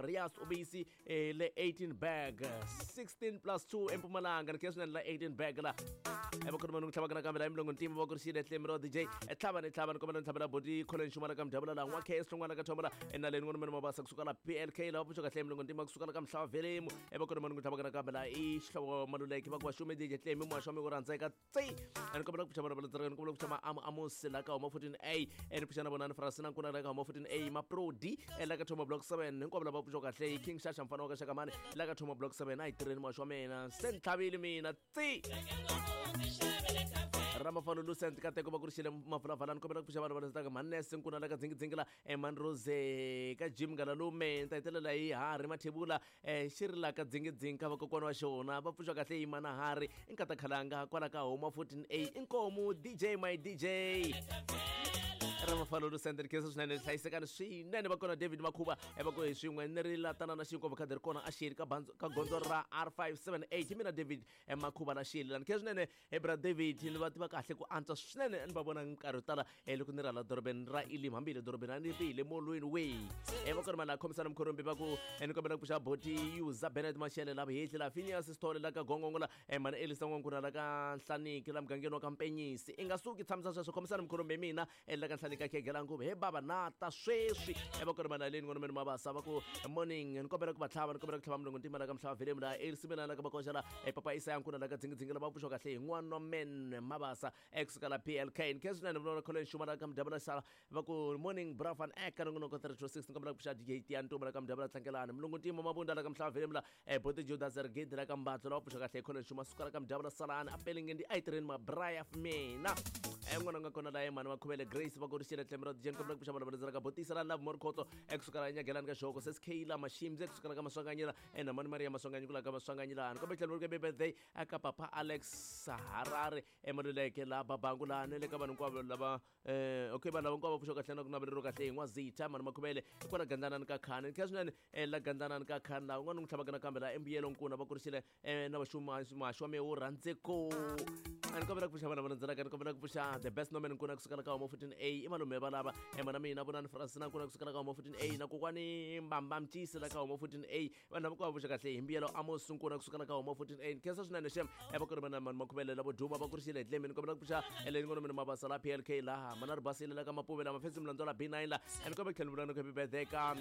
Rias Ubisi le 18 bag 16 plus 2 eMpumalanga ni khensa swinene la 18 bag la evakhona vanhu tlhava nakambe la emilongo ntima va kurisile tlemi ro DJ tlhava ni tlhava ni kombela ni tlhavela boti Colin Xumala ka mdabula la n'wa KS Hlongwana ka thomala enaleni n'wana mene mabasa kusuka la PLK la va pfuxa kahle emilongo ntima kusuka la ka mhlava velemu evakhona vanhu tlhava nakambe la i xihlovo maluleke va ku va xume DJ tlemi muhaxo wa mi ku rhandzeka tsi ni kombela ku pfuxa vana va landzelaka ni kombela ku pfuxa maamu amusi la ka huma 14A ni pfuxa na vonani Frasina Nkuna la ka huma 14A Maprodi la ka thoma block 7 hinkwavo lava pfuxa kahle King Shasha mfana wa ka Xakamani la ka thoma block 7 a hi tirheni muhaxo wa mina se ni tlhavile mina tsi ramafano lucent kateko va kurixile mavulavala ni kombela ku pfuxa vanhu va landzelaka manese nkuna la ka dzingidzingi la emanrose ka jim ngalalume ni ta hetelela hi harhi mathebula xi ri la ka dzingidzingi ka vakokwana wa xona va pfuxa kahle hi mana harhi i nkata khalanga kwala ka homa 14A inkomu DJ my DJ ramafalo lucent ni khensa swinene hlayisekani swinene va kona David Makhuva va ku hi swin'we ni ri la tanana xinkwa khadi ri kona a xiri ka ka gondzo ra R578 mina David Makhuva la xili la ni khensa swinene bra David ni va tiva kahle ku antswa swinene ni va vona minkarhi yo tala loko ni ri hala dorobeni ra Elim hambi hi le dorobeni a ni ri hi le molweni we va kona mali la khomisana mikhorombi va ku ni kombela ku pfuxa boti Yuza Bennett Mashele la vuhehli la Phineas Sithole la ka Gongongo la mhani Elisa N'wankuna la ka Nhlaniki la mugangeni wa ka Mpenyisi i nga suki tshamisa sweswo khomisana mikhorombi hi mina la ka Nhlaniki ka Khegela nguvu he bava na ta sweswi va kona mali aleni n'wana meni mabasa va ku morning ni kombela ku va tlhava ni kombela ku tlhava mulungu ntima la ka mhlava velemu la Elsie Melana la ka Makoxa la papa Isaya Nkuna la ka Dzingidzingi la va pfuxiwa kahle hi n'wana men Mabasa ekusuka la PLK ni khensa swinene vula Colin Xuma la ka Mudabula Sala va ku morning bra van ek nongonoko 326 ni kombela ku pfuxa DJ Tiya Ntumba la ka Mudabula Tlangelani mulungu ntima Mabunda la ka Mhlava velemu la Bote Judas Rigidi la ka Mbatlo la va pfuxiwa kahle hi Colin Xuma suka la ka Mudabula Salani a pelenge ndi a yi tirheni mabraya mina n'wana nga kona la mhani Makhuvele Grace va korixile tlhelo ra DJ ni kombela ku pfuxa vanhu va landzelaka botisa la Love More Khotso ekusuka la Nyagelani ka Xihoko Sis Kayla Mashimzi ekusuka la ka Maswanganyela na mhani Maria Maswanganyi ku la ka Maswanganyela ni kombela tlhelo ri birthday aka papa Alex Harare emaluleke la Babangu la ni le ka vanhu hinkwavo lava okay vanhu lava hinkwavo va pfuxa kahle na ku naveleriwa kahle hi N'wazitha mhani Makhuvele kwala Gandlanani ka Khani ni kha swinene la Gandlanani ka Khani laha un'wana n'wi tlhavaka nakambe la embuyelo nkuna va kurisile na vaxuma wa me wo rhandzeko a ni kombela ku pfuxa vanhu va landzelaka ni kombela ku pfuxa the best nomen nkuna kusukela ka homa 14A i malume va lava mana mina vonani Francina nkuna kusukela ka homa 14A na kokwani Mbamba Mtisi la ka homa 14A vanhu lava ku va pfuxa kahle hi mbuyelo Amos nkuna kusukela ka homa 14A ni khensa swinene xem va ku ri vana mani Makhuvele lavo duma va kurisile hi tlemi ni kombela ku pfuxa eleni ngona mina Mabasa la PLK laha mana ri basile la ka Mapuve la mafesi Mlandzo la B9 la ni kombela ku tlhela ni vula happy birthday ka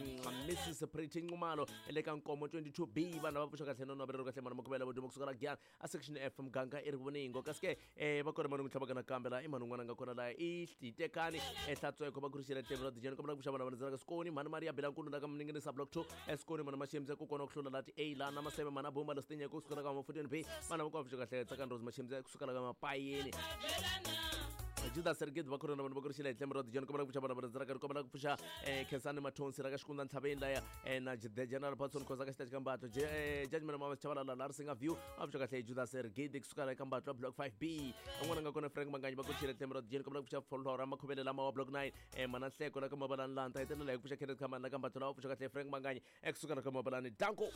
Mrs Pretty Nxumalo le ka Nkomo 22B vanhu lava pfuxa kahle no naveleriwa kahle mani Makhuvele lavo duma kusukela Giyani a section F muganga i ri voningo kasi ke va kona mani n'wi tlhavaka nakambe laha i mani un'wana a nga kona laha i Titekani ehlatsweko va kurixile tlhelo ra dijeni kombela ku pfuxa vanhu lava landzelaka Sikoni mhani Maria Bilankulu la ka Mninginisa block 2 eSikoni mhani Mashemze ku kona ku hlula lati A la na Maseve mhani Abumba Lositinya ku sukela ka ma 14 B vanhu lava ku va pfuxa kahle Tsakani Rose Mashemze ku sukela ka Mapayeni Judas Sergid va khona vanhu va kurixile hi tlhelo ra dijeni kombela ku pfuxa vanhu lava landzelaka ni kombela ku pfuxa Khensani Mathonsi ra ka Xikundza Ntlhaveni laya na the General Patson Khoza ka xitachi ka Mbatlo Judgment Mama Chabalala la Risinga View va pfuxa kahle Judas Sergid kusuka ka Mbatlo block 5B un'wana nga kona Frank Manganyi va kurixile tlhelo ra dijeni kombela ku pfuxa Flora Makhuvele lama wa block 9 mana Nhleko la ka Mabalani la ta hetelela hi ku pfuxa Kenneth Khamani la ka Mbatlo la va pfuxa kahle Frank Manganyi ekusuka la ka Mabalani danko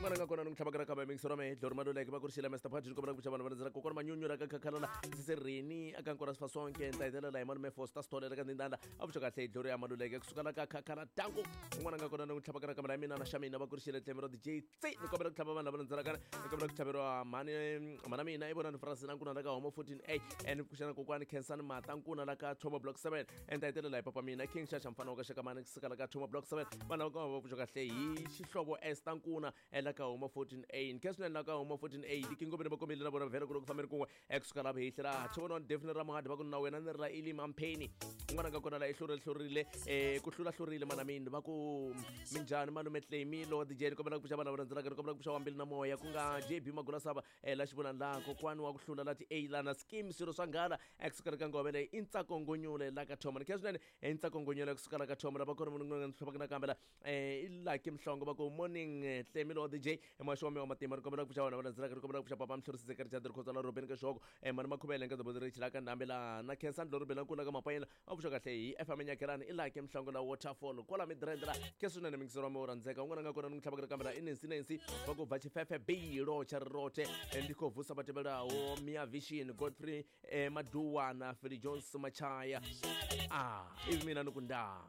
un'wana nga kona ni n'wi tlhavaka ra kambe mingisoro me dlori maluleke va kurixile Mr Padi ni kombela ku pfuxa vanhu va landzela kokwana Manyunyu ra ka Khakhalala Sisirhini aka Nkora Sifasonke ni ta hetelela hi malume Foster Sithole ra ka Ndindanda a pfuxa kahle dlori ya Maluleke kusuka la ka Khakhala danko un'wana nga kona ni n'wi tlhavaka ra kambe la mina na xa mina va kurixile tlhelo ra DJ C ni kombela ku tlhava vanhu lava landzelaka ni kombela ku tlhaveriwa mhani mhana mina i vona ni Francina Nkuna la ka Homo 14A ni pfuxana kokwani Khensani Mata Nkuna la ka Thoma block 7 ni ta hetelela hi papa mina King Shasha mfana wa ka Xakamani kusuka la ka Thoma block 7 vanhu lava ka va pfuxa kahle hi xihlovo Esther Nkuna la ka Homo 14A ni khensa swinene la ka Homo 14A tikingoveni va kombile na vona vhele ku loko fambeni kun'we ekusuka la hehli la Thivona Daphne Ramohadi va ku na wena ni ri la Elim Ampheni un'wana nga kona la i hlurile hlurile ku hlula hlurile mana mini va ku minjhani malume Tlemi lo DJ ni kombela ku pfuxa vanhu lava landzelaka ni kombela ku pfuxa wambili na moya ku nga JB Magula Sava la xivonani la kokwani wa ku hlula la ti A la na scheme swilo swa nghala ekusuka ka ngove leyi i Ntsako Ngonyule la ka Thoma ni khensa swinene i Ntsako Ngonyule kusuka la ka Thoma lava kona munhu un'wana ni hlupaka nakambe la i Lucky Mhlongo va ku morning Tlemi lo DJ muhaxi wa me wa matimba ni kombela ku pfuxa vanhu lava landzelaka ni kombela ku pfuxa papa Mhlorisi Zekeri Chadri Khotsa la Robeni ka Xihoko mani Makhuvele nka Dobodirichi la ka Ndhambi la na Khensani Loribela Nkula ka Mapayela va pfuxa kahle hi FM Nyakelani i Lucky Mhlongo la Waterfall kwala Midrand la ke swinene mingisero wa me wo rhandzeka un'wana nga kona ni n'wi tlhavaka kambe la i Nancy Nancy va ku bva Chifefe B Locha Rirote ndi khou vusa vha tevhelaho Mia Vision Godfrey Maduwana Philly Jones Machaya ivi mina ni ku ndaa.